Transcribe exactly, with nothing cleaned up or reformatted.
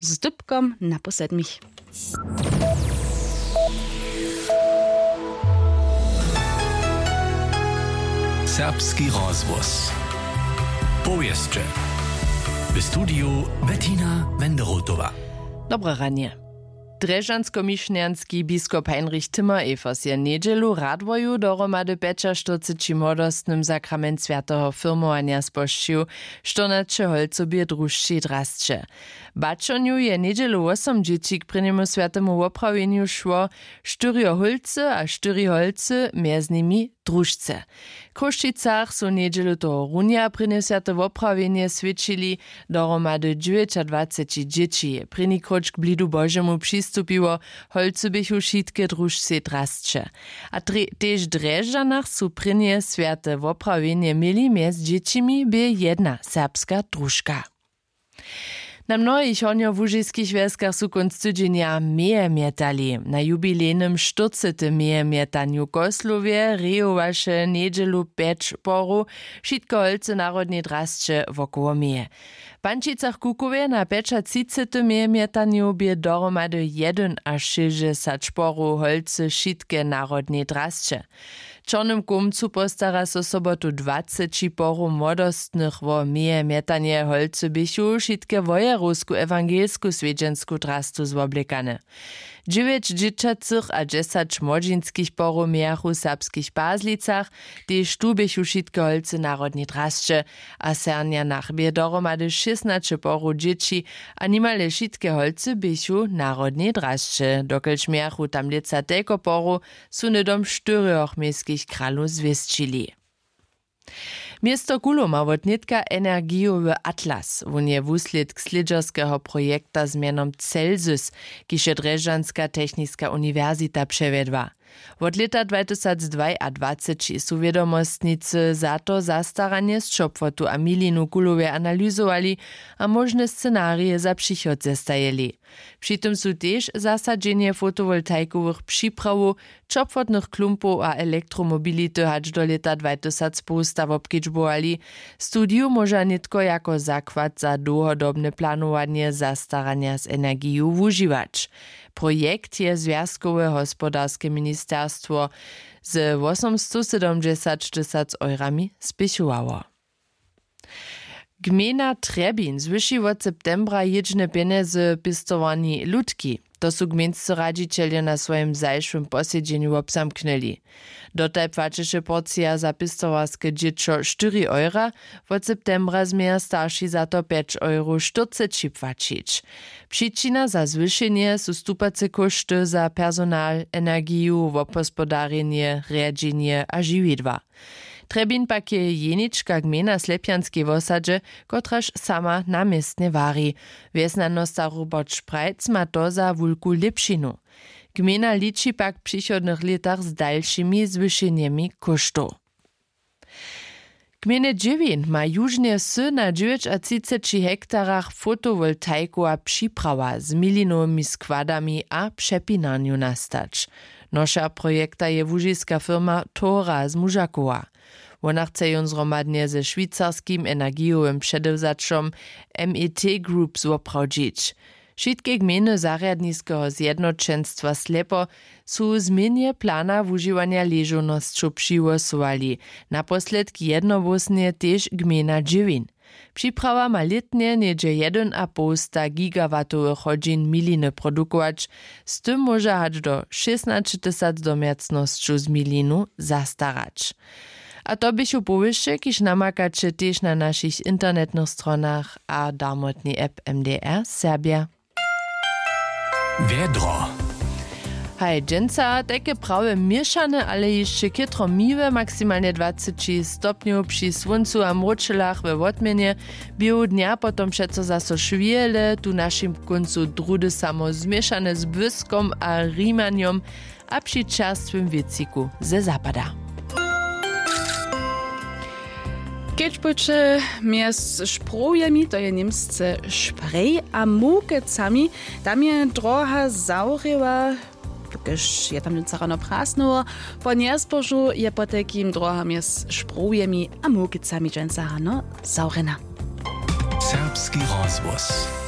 Z dypkom na po sedmich. Serbski rozhłos. Powěsće. W studiju Bettina Wenderotowa. Dobre ranje. Drježdźanskomišnjanski biskop Heinrich Timmer-Evers je njedźelu w Radworju dohromady pjećaštyrceći młodostnym sakrament swjateho firmowanja spožčił, štyrnaće holcow bě drušćej drasće. Baćonju je njedźelu wosom dźěći k prěnjemu swjatemu woprawjenju šło, štyrjo hólcy a štyri holcy, mjez nimi drušce. W Chrósćicach su njedźelu tohorunja prěnje swjate woprawjenje swjećili, dohromady dźewjećadwaceći dźěći je prěni króć k blidu Božemu přistupiło, holcy běchu wšitke drušćej drasće. A drje- tež w Drježdźanach su prěnje swjate woprawjenje měli, mjez dźěćimi bě jedna serbska družka. Na mnohich hornjołužiskich wjeskach su kónc tydźenja meje mjetali. Na jubilejnym štyrcetym meje mjetanju w Koslowje rejowaše njedźelu pjeć porow, wšitke holcy narodnej drasće wokoło meje. W Pančicach-Kukowje na pjećatřicetym meje mjetanju bě dohromady jedynašěsćdźesać porow holcy wšitke narodnej drasće. W Čornym Kołmcu postara so sobotu dwaceći porow młodostnych wo meje mjetanje. Holcy běchu wšitke wojerowsku ewangelsku swjedźensku drastu zwoblekane. Dźewjeć dźěćacych a dźesać młodźinskich porow mějachu w Serbskich Pazlicach, tež tu běchu wšitke holcy narodnej drasće. A w Sernjanach bě dohromady šěsnaće porow dźěći a nimale wšitke holcy běchu narodnej drasće. Dokelž mějachu tam lětsa telko porow, su hnydom štyrjoch městskich kralow zwěsćili. Město Kulow ma wotnětka energijowy atlas. Wón je wuslědk slědźerskeho projekta z mjenom Celsus, kiž je Drježdźanska techniska uniwersita přewjedła. Wot lěta dwatysacdwajadwaceći su wědomostnicy za to zastaranje z Ćopłotu a Milinu w Kulowje analyzowali a móžne scenarije za přichod zestajili. Při tym su tež zasadźenje fotowoltaikowych připrawow, ćopłotnych klumpow a elektromobility hač do lěta dwatysacpołsta wobkedźbowali. Studiju móža nětko jako zakład za dołhodobne planowanje zastaranja z energiju wužiwać. Projekt je zwjazkowe hospodarske ministerstwo ze wosomstosydomdźesaćtysac eurami spěchowało. Gmejna Trjebin zwyši wot septembra jědźne pjenjezy pěstowarni Lutki. To su gmejnscy radźićeljo na swojim zašłym posedźenju wobzamknyli. Dotal płaćeše porcija za pěstowarske dźěćo štyri eura, wot septembra změja starši za to pjeć euro štyrceći płaćić. Přičina za zwyšenje su stupace kóšty za personal, energiju, wobhospodarjenje, rjedźenje a žiwidła. Trjebin pak je jenička gmejna w Slepjanskej wosadźe, kotraž sama na městnje wari. Wjesnjanosta Robert Šprajc ma to za wulku lěpšinu. Gmejna liči pak w přichodnych lětach z dalšimi zwyšenjemi kóštow. Gmejne dźěwin ma južnje wsy na dźewjećatřiceći hektarach fotowoltaikowa připrawa z milinowymi składami a přepinarnju nastać. Noša projekta je łužiska firma Tora z Mužakowa. Wona chce jón zhromadnje ze šwicarskim energijowym předewzaćom M E T Group zwoprawdźić. Wšitke gmejny zarjadniskeho zjednoćenstwa Slepo su změnje plana wužiwanja ležownosćow přihłosowali, naposledk jednohłósnje tež gmejna Dźěwin. Připrawa ma lětnje něhdźe jedyn a poł sta gigawatowych hodźin miliny produkować, z tym móža hač do šěsnaćetysac domjacnosćow z milinu zastarać. A to běchu powěsće, kiž namakaće tež na našich internetnych stronach a darmotnej app M D R Serbja. Wjedro. Haj, dźensa tajke prawje měšane, ale hišće chětro miłe, maksimalnje dwaceći stopnjow při słóncu a mróčelach we wotměnje. Běhu dnja potom přeco zaso šwěle, tu w našim kóncu druhdy samo zmišane z błyskom a rimanjom a při čerstwym wětřiku ze zapada. Kedźbujće mjez šprowjemi, to je němsce šprej, a mukecami, tam je droha zawrěła, dokelž je tam dźensa rano prasnyło. Po njezbožu je potajkim droha mjez šprowjemi a mukecami dźensa rano zawrjena. Serbski rozhłos.